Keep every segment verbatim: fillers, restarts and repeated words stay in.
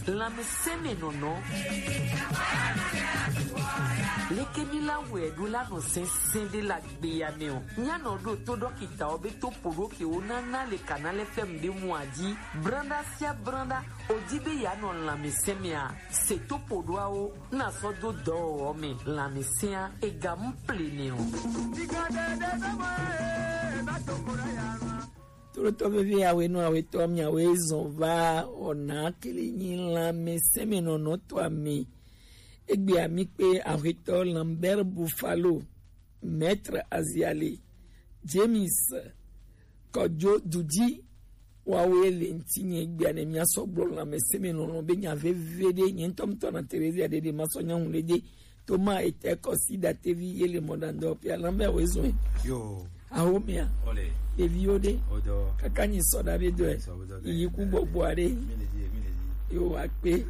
Lanmɛsɛnmɛnɔnɔ. Leke mi la wɛ ɖo la nɔ sɛnsɛn ɖe la gbe ya mɛ o. Nya nɔ ɖo to ɖɔkita o be to poɖo ke wo nana le kana lɛ fɛm ɖe mu aji. Branda sia branda, o di be ya nɔ lanmɛsɛnmɛ a. Se to poɖoawo, na sɔ do dɔ o mɛ lanmɛsɛn a, e ga mu ple nɛ o. Tolotɔ vevi awe nɔ awe tɔ mi awe zɔn va ɔna kele nyi lanmɛsɛnmɛnɔnɔ tɔ ami. Egbe ami kpe ahwetɔ Lambert Buffalo, Maître Aziale, James Kɔjo Dudi, wawe le ŋti nye gbia ne mia sɔ gblɔ lanmɛsɛnmɛnɔnɔ be nya veve ɖe nye ŋutɔ ŋutɔ na Terezia ɖe ɖe ma sɔ nya ŋu le ɖe. Toma etɛ kɔsi datevi ye le mɔdandɔ pia lambe awe zɔn. Yo. Aho mia. Ole. Eviwo ɖe. Odo. Kaka nyi sɔ da be dɔ. Sɔ be dɔ. Yi ku gbɔgbɔ ɖe. Mi le di, mi le di. Yo akpe.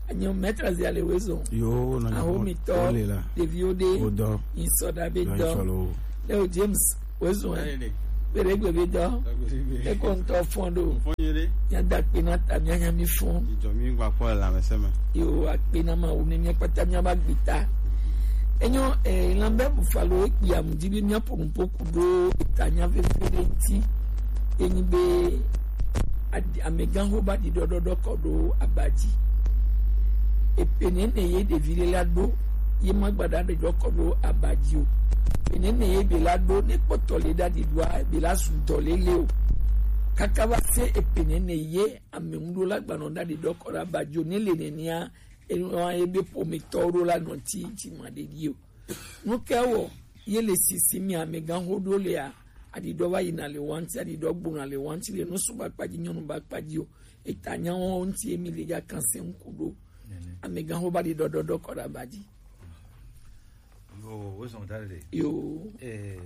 Anyo metra zi ale we zɔn. Yo na. Aho mi tɔ. Ole la. Eviwo ɖe. Odo. Yi sɔ da be dɔ. Leo James we zɔn. Ole. Bere gbe be dɔ. Ekɔ ŋutɔ fɔn ɖo. Fɔn ye ɖe. Mia da kpe na ta mia nya mi fɔn. Jijɔ mi gba kpɔ le lanmɛsɛnmɛ. Yo akpe na ma wo ne mia kpata mia ba gbe ta. Enyo eh, Lambert Buffalo ekpi amudi be mia ponu poku ɖo eta nya veve ɖe ŋti. Enyi be adi- amegãxo ba ɖi ɖɔɖɔɖɔ kɔ ɖo abadzi. Epe nene ye ɖevi ɖe la ɖo ye ma gba ɖa ɖe ɖɔ kɔ ɖo abadzi o. Epe nene ye be la ɖo ne kpɔtɔ le ɖa ɖi ɖoa be la su dɔ lele o. Kaka va se epe nene ye ame ŋu ɖo la gba nɔ ɖa ɖi ɖɔ kɔ ɖo abadzi o ne le nenea enua ye be ƒometɔwo ɖo la nɔ ti ti ma ɖe ɖi o. Nu ke wɔ ye le sisi mi amegãxo ɖo lea, aɖiɖɔ va yina le wa ŋti, aɖiɖɔ gbona le wa ŋti le nusu ba kpadzi nyɔnu ba kpadzi o. Eta nyawo ŋti ye mi le ya kan se ŋku ɖo. Nene. Amegãxo ba ɖi ɖɔɖɔɖɔ kɔ ɖe aba dzi. Yo, wo zɔn da le. Yo. Eh,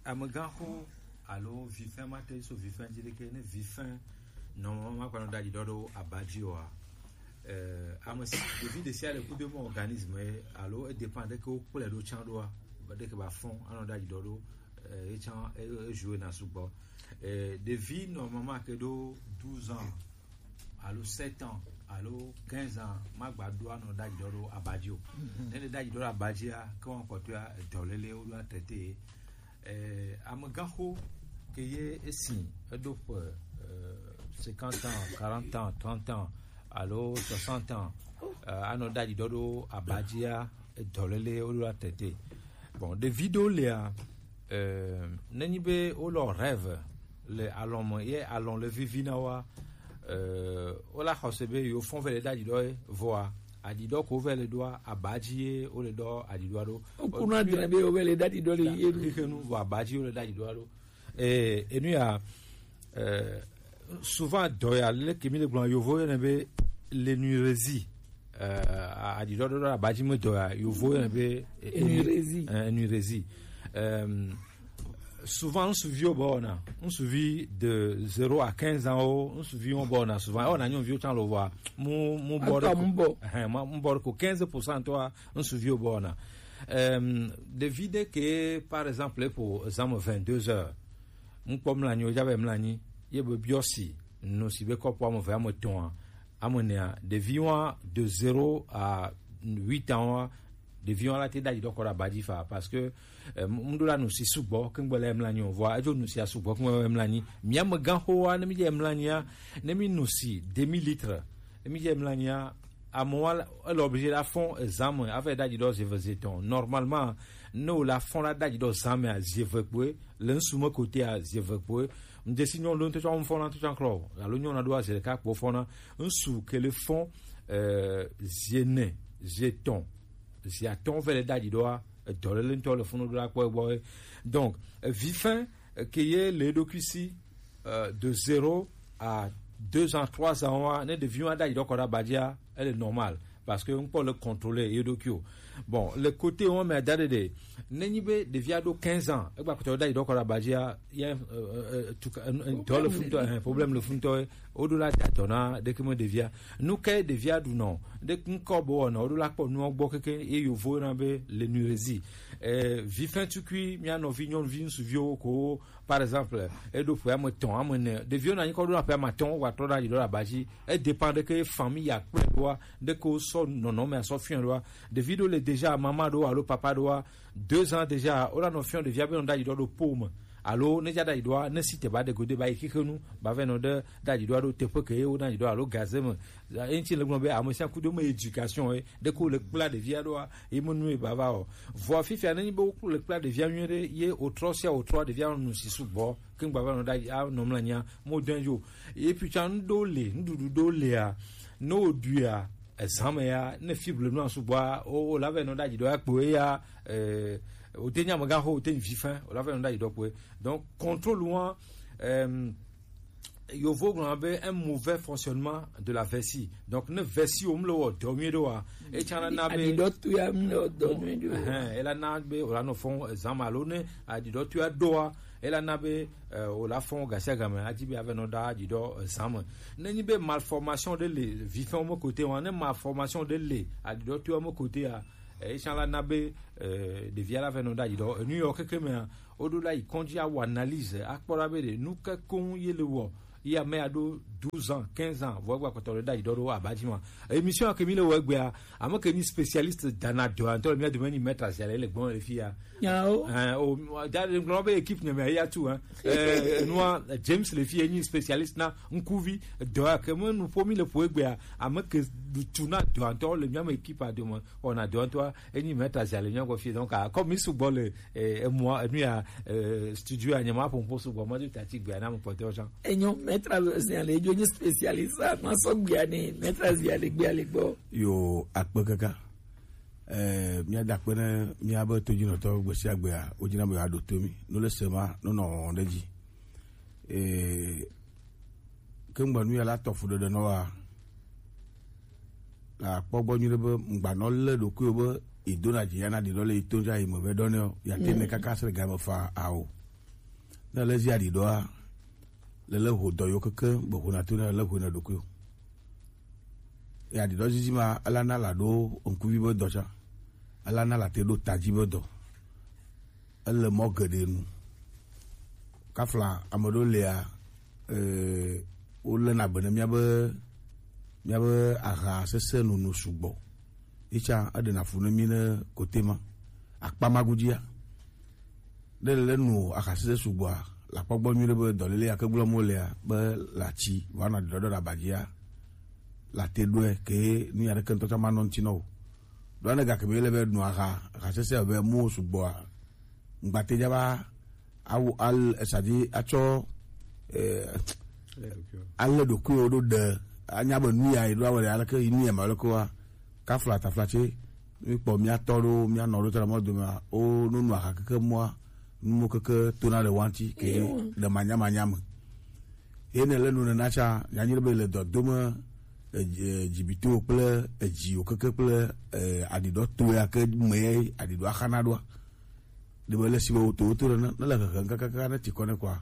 amegãxo alo vifɛn ma te so vifɛn dzi ɖeke ne vifɛn nɔ ma kpanɔ da ɖi ɖɔ ɖo aba dzi oa. Eh, ame si ɖevi ɖe sia ɖe kudo mɔ organisme ye alo e dépend ɖe ke wo kplɔe ɖo tsã ɖoa, ɖe ke ba fɔn anɔ ɖe aɖi ɖɔ ɖo, eh, ye tsã e, e joue na sugbɔ. Eh, ɖevi normalement ke ɖo douze ans alo sept ans alo quinze ans ma gba ɖo anɔ ɖe aɖi ɖɔ ɖo abadzi o. Ne ɖe ɖe aɖi ɖɔ ɖo abadzia ke wɔn kpɔtɔa edɔlele wo ɖo atete. Eh, amegãxo ke ye esi eɖo ƒe, eh, cinquante ans, quarante ans, trente ans alo soixante ans, eh, anɔ ɖe aɖi ɖɔ ɖo abadzia edɔlele wo ɖo atete. Bon, ɖevi ɖewo lia, eh, nenyi be wo le rêve le alɔ̃ me ye alɔ̃ le vivi na woa, eh, wo la xɔse be yewo fɔn ve le ɖe aɖi ɖɔ ye vɔa aɖi ɖɔ ko ve le ɖoa abadzi ye wo le ɖɔ aɖi ɖɔa ɖo. Wokunu adre be wovɛ le ɖaɖi ɖɔ le ye ɖu. Xixenu vɔ abadzi wo le ɖaɖi ɖɔa ɖo. Eh, enu ya, eh, souvent dɔ ya le ke mi le gblɔ yovo yɔnɛ be l'énurésie. Eh, aɖi ɖɔ ɖo abadzi me dɔ ya yovo yɔnɛ be, eh, énurésie. Eh, énurésie. Euh, souvent ŋsuviwo bɔ wɔna, ŋsuvi de zéro à quinze ans wo, ŋsuviwo bɔ wɔna souvent, ewɔna nyɔnuviwo tsã lo vɔa, mu, mu bɔ ɖe ko. Atɔ mu bɔ. Ɛhɛn, ma, mu bɔ ɖe ko quinze pour cent tɔa, ŋsuviwo bɔ wɔna. Euh, ɖevi ɖe ke, par exemple, pour examen vingt-deux heures, mu kpɔ mlanyi, o jabe mlanyi, ye be biɔ si, no si be kɔpu ame eve, ame etɔ̃a, ame enea, ɖevi wa de zéro à huit ans wa, ɖevi wa la te ɖaɖi ɖɔ kɔ ɖe abadzi fa, parce que, euh, mu ɖo la nu si sugbɔ, kengbe le mlanyi o, vɔa edzo nu si a sugbɔ, kengbe le mlanyi. Mia me gã xo wa, ne mi dze mlanyia, ne mi nu si demi litre, ne mi dze mlanyia, amewo la, ele obligé la fɔn examen, ava yi ɖaɖi ɖɔ zieve zietɔ̃. Normalement, ne wo la fɔn la ɖaɖi ɖɔ examen a zieve kpoe, le ŋsu me kote a zieve kpoe. Ŋdesi nyɔnu ɖo ŋutɔ tsɔ fɔn na ŋutɔ tsɔ klɔ, alo nyɔnu ɖo a zi ɖeka kpo fɔn na. Ŋsu ke le fɔn, euh, ziene, zietɔ̃, ziatɔ̃ ve le ɖaɖi ɖɔa, edɔ le le ŋutɔ le funu ɖo la kpɔ egbɔ. Donc, euh, vifin, euh, ke ye le eɖokui si, euh, de zéro à deux ans, trois ans wa, ne ɖevi wa ɖaɖi ɖɔ kɔ ɖe abadzia, ele normal. Parce que ŋkpɔ le contrôler ye ɖokui o. Bon, le côté wo me da ɖe ɖe, ne nyi be ɖevia ɖo quinze ans, egba kɔtɔ ɖaɖi ɖɔ kɔ ɖe abadzia, ye, euh, euh, tu ka, euh, euh, dɔ le funu tɔ, euh, problème le funu tɔ, Woɖo la da dɔ na ɖeke me ɖevia. Nu ke ɖevia ɖu nɔ ɖe ŋkɔ bo wɔna woɖo la kpɔ nuɔ gbɔ keke ye yovo na be le nurezi. Eh, vifɛn tukui mia nɔvi nyɔnuvi ŋsuviwo ko, par exemple, eɖo ƒe ame tɔn ame ne ɖeviwo na nyikɔ ɖo na ƒe ame atɔn wa trɔ na yi ɖo la baji. E dépend ɖeke famille ya kple ɖoa ɖeke wo sɔ nɔnɔ me asɔ fiɔ ɖoa. Ɖevi ɖo le déjà mama ɖo alo papa ɖoa deux ans déjà, wola nɔ fiɔ ɖevia be nɔ ɖayi ɖɔ ɖo po me. Alo ne dza ɖayi ɖɔa, ne si te ba ɖe gode ba yi xixe nu, ba vɛ nɔ ɖe ɖayi ɖɔa ɖo teƒe ke ye wo ɖayi ɖɔ alo gaze me. Eŋti le gblɔ be ame sia kudo me éducation ye ɖe ko le kpla ɖevia ɖoa, ye me nu ye ba va o. Vɔ fifia ne nyi be wo le kpla ɖevia nyuie ɖe ye o trɔ sia o trɔ ɖevia nu si sugbɔ ke gba va nɔ ɖayi a nɔ mla nya mo dɔn yo. Et puis tsa nu ɖo le, nuɖuɖu ɖo lea, ne o ɖuia, ezã me ya, ne fibre nu sugbɔa, o, o la vɛ nɔ ɖayi ɖɔ ya kpo ya, eh, o te nya me ga ho, o te nyi vifɛn, o la vɛ nɔ ɖayi ɖɔ kpo. Donc, contrôle wa, euh, yovo gblɔ be un mauvais fonctionnement de la vessie. Donc, ne vessie o mle wɔ dɔ nyuie ɖo wa, e tsa na na be aɖiɖɔ tu ya mle wɔ dɔ nyuie ɖo wa. Ehɛn, e la na be o la nɔ fɔn ezã me alo ne aɖiɖɔ tu ya ɖoa, e la na be eh, o la fɔn gasiagame adi be ave nɔ ɖa aɖiɖɔ eh, zã me. Ne nyi be malformation ɖe le vifɛnwo me kote wa, ne malformation ɖe le aɖiɖɔ toa me kote ya, eh, etsã la na be eh, ɖevia la ve nɔ ɖa aɖiɖɔ enu yɔ keke mea, woɖo la yi kɔdzi awɔ analyse akpɔ ɖa be ɖe nu ke koŋ ye le wɔ ye ame ya ɖo douze ans, quinze ans, vɔ egba kpɔtɔ ɖe ɖa aɖiɖɔ ɖo aba dzi ma. Émission ke mi le wɔ egbea, ame ke nyi spécialiste dana dɔ ŋutɔ le mía dome nyi maître Aziale le gbɔn le fi ya. Nyawo. Ɛɛ, o da ɖe ŋgblɔ be équipe nyame ya tu hein. Ɛɛ, nua James le fi ye nyi spécialiste na ŋkuvi dɔ ya ke me nu ƒo mi le ƒo egbea, ame ke tu na dɔ ŋutɔ le mía me équipe a dome wɔna dɔ ŋutɔa enyi maître Aziale nyɔ gbɔ fi donc a comme mi sugbɔ le eh, emua enu ya eh, studio ya nyama ƒo ƒo sugbɔ ma do tati gbea na me kpɔtɔ tsã. Enyo maître Aziale edzo nyi spécialiste a ma sɔ gbea ni maître Aziale gbea le gbɔ. Yo akpe kaka. Eh, míada akpe ne míabe todzinɔtɔ gbe sia gbea, wodzina be yeaɖo to mí. No le se ma, no nɔ wɔwɔm ɖe edzi. Eh, ke ŋgba nu ya la tɔ fuɖeɖe nɔ wa. La kpɔ gbɔ nyuie ɖe be ŋgba nɔ lé ɖokuiwò be yedona dzi ya na ɖiɖɔ le yi to dza yi me vɛ ɖɔ nɛ o. Ya te ne kaka se le game fa ao. Ne le zi aɖiɖɔa, le le ho dɔ yo keke be ho na to ne le ho na ɖokuiwò. Ya ɖiɖɔ zizi ma ela na la ɖo ŋkuvi be dɔ tsã. Ela na la te ɖo tadzi be dɔ. Ele mɔ geɖe nu. Kafla ame ɖewo lia, eh, wolena be ne míabe míabe aha sese nono sugbɔ. Etsã eɖena fu ne mí ne kote ma. Akpa ma godzia. Ne le nu aha sese sugbɔa, la kpɔ gbɔ nyuie ɖe be dɔléle ya ke gblɔm wolea be la tsi va nɔ ɖiɖɔɖɔ ɖe abadzia, la te ɖɔe ke nu ya ɖeke ŋutɔ tsã manɔ ŋuti nɔ o. Ɖoa ne gake be le be nu aha, aha sese be mo sugbɔa, ŋgbate dza va awo al esadi atsɔ eh, ale ɖokuiwo ɖo ɖe anya be nu ya yi ɖo awɔ ɖe aleke yi nu ya ma leke wa kafla tafla tse mi kpɔ mia tɔ ɖo mia nɔ ɖo tɔ ɖe mɔ dome o nonu aha keke mɔa numo keke tona ɖe wanti ke ɖe manya manya me. Ye ne le nu nena tsa nyanyi ɖe be le dɔdome eh, eh, dzibitiwo kple edziwo keke kple eh, aɖiɖɔ to ya ke me ya aɖiɖɔ axana ɖoa. Ɖe be le si be woto woto ɖe ne ne le hehem kakaka ne ti kɔ ne kɔa,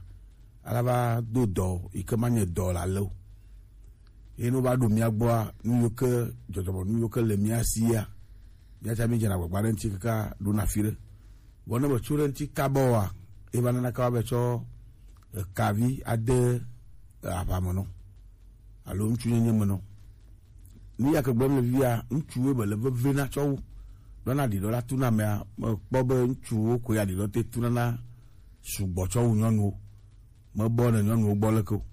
ala va do dɔ yi ke ma nye dɔ la le o. Ye ne wova ɖo mía gbɔa, nu yiwo ke dzɔdzɔme nu yiwo ke le mía sia, mía ta mí dzena agbagba ɖe ŋuti kaka ɖona afi ɖe. Vɔ ne metso ɖe ŋuti kaba oa, ye va nana kaba be tsɔ ekavi ade aʋa me nɔ alo ŋutsunyenye me nɔ. Nu ya ke gblɔm le fifia, ŋutsuwoe be le veve na tsɔ wu. Ɖɔna ɖiɖɔ la tuna amea, mekpɔ be ŋutsuwo koe aɖiɖɔ te tuna na sugbɔ tsɔ wu nyɔnuwo. Mebɔ ne nyɔnuwo gbɔ leke o.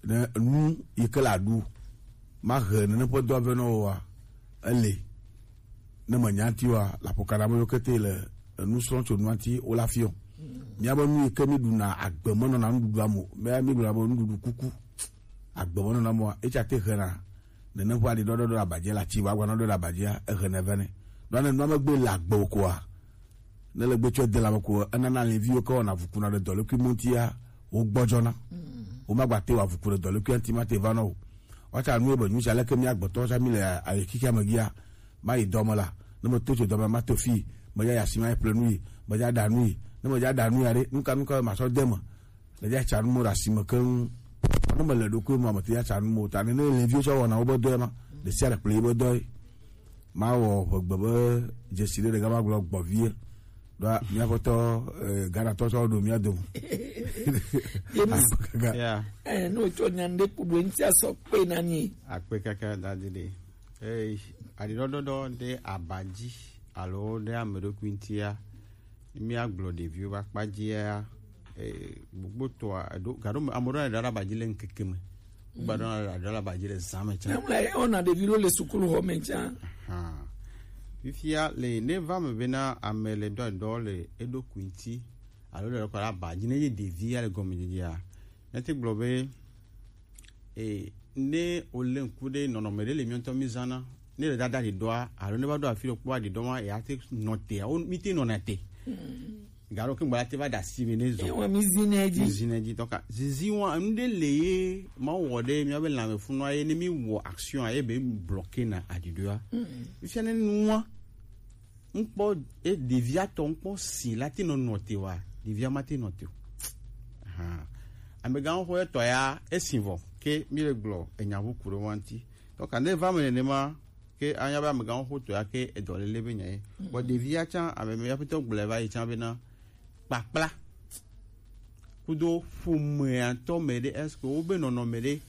Ne nu yi ke la ɖu, mahe nene ƒe dɔ ave nɔ woa, ele. Ne menya ŋuti wa, la ƒo kana me yokete le enu srɔ̃ tso nua ŋuti wo la fiɔ. Míabe nu yi ke mi ɖuna agbe menɔna nuɖuɖua me o. Mía mi gblɔna be nuɖuɖu kuku. Agbe menɔna mɔa, etsa te hena. Nene ƒe aɖi ɖɔɖɔ ɖo abadzia la tsi wa gba nɔ ɖo ɖe abadzia ehe ne vɛ ne. Ɖo ne nua megbe le agbe o koa, ne le gbe tsɔ de la me ko enana le viwo ke wɔna vukuna ɖe dɔlekui mɔntia wo gbɔdzɔna. Wo magba te wa vuku ɖe dɔlekui anti ma te va nɔ o. Wata nu be nyusa leke mi agbetɔ sa mi le ayi kiki amegia. Ma yi dɔme la, ne me to tso dɔme ma to fi, me ya yasi ma ple nu yi, me ya da nu yi, ne me ya da nu ya ɖe, nuka nuka ma sɔ de me. Le ya tsa nu mo ɖe asime keŋ. Ne mele ɖokuiwo me, mete ya tsa nu mo. Ta nene le viwo tsɔ wɔna wobe dɔe ma. Ɖe sia ɖe kple yibe dɔe. Ma wɔ ʋegbe be dzesi ɖe ɖeka ma gblɔ gbɔ vie. Ɖoa míaƒetɔ, eh, Ghana tɔ tsɔ ɖo mía dome. James. Akpe kaka. Yeah. Eh, ne wotsɔ nya ɖe ku ɖo ŋuti asɔ kpe na ni. Akpe kaka dadi ɖe. Eh, aɖiɖɔɖɔɖɔ ɖe aba dzi alo ɖe ame ɖokui ŋutia, míagblɔ ɖeviwo ƒe akpa dzia, eh, gbogbo tɔa, eɖo, gaɖo me, ame ɖewo anɔ ɖe aba dzi le ŋkeke me. Wogba ɖo anɔ ɖe aba dzi le zã me tsã. Nyɔnu la, wona ɖevi ɖewo le sukulu xɔ me tsã. Ahan. Fifia le, ne va me bena ame le dɔ dɔ le eɖokui ŋuti, alo le kɔ ɖe aba dzi, ne ye ɖevia le gɔmedzedzea, ne te gblɔ be, e, ne wole ŋku ɖe nɔnɔme ɖe le míawo ŋutɔ mízãna, ne le dada ɖiɖɔa, alo ne va ɖo afi ɖokpo aɖiɖɔ ma, ya te nɔ te, wo, mi te nɔna te. Galo ke ŋgba te va ɖe asi me ne zɔ. Ewa, mi zi ne dzi. Mi zi ne dzi, tɔka. Zizi wa, enu ɖe le ye, ma wɔ ɖe, míabe lãme funua ye, ne mi wɔ action a, ye be bloqué na aɖiɖɔa. Fifia ne nua, ŋkpɔ, e, ɖevia tɔ ŋkpɔ si la te nɔ nɔ te wa, ɖevia ma te nɔ te o. Ahan. Amegãxoxo etɔ ya, esi vɔ, ke mi le gblɔ, enya ʋu ku ɖe wa ŋuti. Tɔka ne va me nenema, ke anya be amegãxoxo tɔ ya ke edɔ lele be nya ye. Bɔ ɖevia tsã, ame me ya ƒete gblɔe va yi tsã bena, kpakpla. Kudo ƒomea tɔ me ɖe, est-ce que wobe nɔnɔme ɖe,